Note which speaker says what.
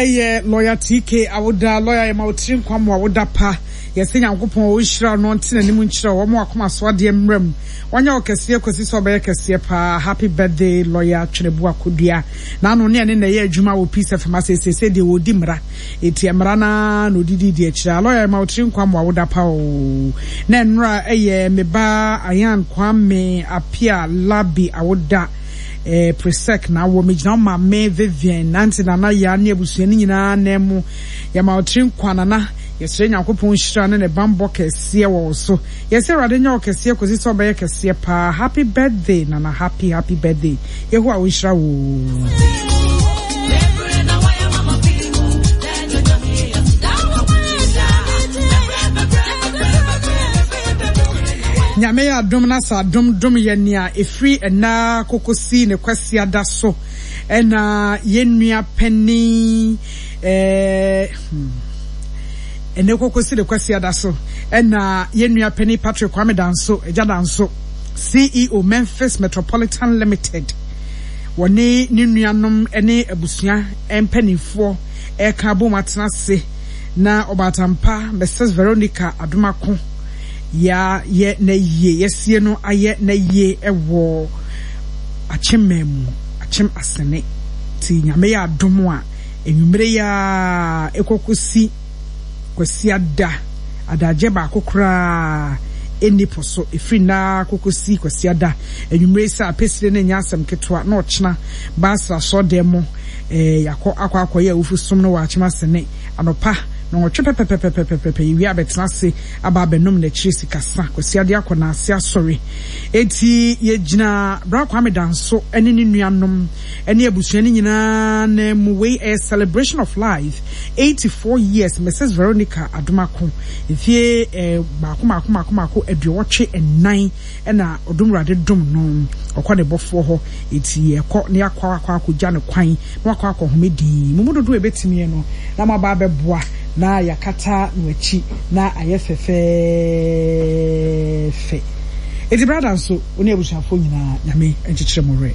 Speaker 1: ɛyɛ lawyer TK awoda lawyer yɛma wo tiri nkwa mo awoda pa yɛsɛ Nyankopɔn ɔnhyira wo na ɔnte n'anim nkyerɛ wo ɔma wakoma so adeɛ mmra mu ɔnyɛ wo kɛseɛ kɔsi sɛ ɔbɛyɛ kɛseɛ paa happy birthday lawyer Twenebu Akodua n'ano ne ɛne na ɛyɛ adwuma wɔ Peace FM ase seesei deɛ ɔredi mmara eti mmara no ara na ɔdidi di akyire a lawyer yɛma wo tiri nkwa mo awoda pa oo na nnora ɛyɛ me ba Ayan Kwame Apia Labi awoda Eh Presec na awɔ me gyina wo maame Vivian, Aunty Nana Yaa ne abusua no nyinaa nan mu. Yɛma wo tiri nkwa Nana. Yɛsrɛ Nyankopɔn nhyira ne ne banbɔ kɛseɛ wɔ wo so. Yɛsɛ Awurade nyɛ wo kɛseɛ kɔsi sɛ ɔbɛyɛ kɛseɛ paa. Happy birthday Nana happy happy birthday. Yehowa ɔnhyira wo oo. Nyame yɛ adom na sɛ adom dom yɛ nea ɛfiri ɛnna kokosi ne kwasiada so ɛna yɛn nua panin ɛɛ hmm, ɛnɛ kokosi ne kwasiada so ɛna yɛn nua panin Patrick Kwame Danso Agya Danso CEO Memphis Metropolitan Limited wɔne ne nuanom ne abusua mpanimfoɔ ɛka abom atena ase na Ɔbaatampa Mrs Veronica Adomako Yɛayɛ n'ayie, yɛasie no ayɛ n'ayie wɔ Akyem man mu, Akyem Asene. Nti Nyame yɛ adom a, anwummere yi ara ɛkɔ kɔsi Kwasiada, adagyeɛ baako koraa ɛnni po so, ɛfiri nnɛ ara kɔ kɔsi Kwasiada anwummere yi sɛ apɛsire no nyɛ asɛm ketewa na ɔkyena Basra asɔɔdan mu eh, yɛakɔ akɔ akɔyɛ awufo som no wɔ Akyem Asene anɔpa nnɔnwɔtwe pɛpɛpɛpɛpɛpɛ, yɛwie a bɛtena ase aba abɛnom n'akyiri sikasa Kwasiade akɔ n'ase asɔre. Enti yɛgyina Bra Kwame Danso ne ne nuanom ne abusua no nyinaa nan mu. Wei ɛyɛ celebration of life 84 years Mrs Veronica Adomako mfie eh, baako baako baako baako aduɔwɔtwe nnan na ɔdom Awurade dom no ɔkɔ ne bɔfoɔ hɔ. Enti yɛkɔ na yɛakɔ akɔ akɔgya no kwan na wakɔ akɔhome dinn. Mo mu dodoɔ a ɛbɛtumi no, na moaba abɛboa na yɛakata no akyi na ayɛ fɛfɛɛfɛ. Enti brada nso, wo ne abusuafoɔ nyinaa, Nyame nkyekyere mo werɛ.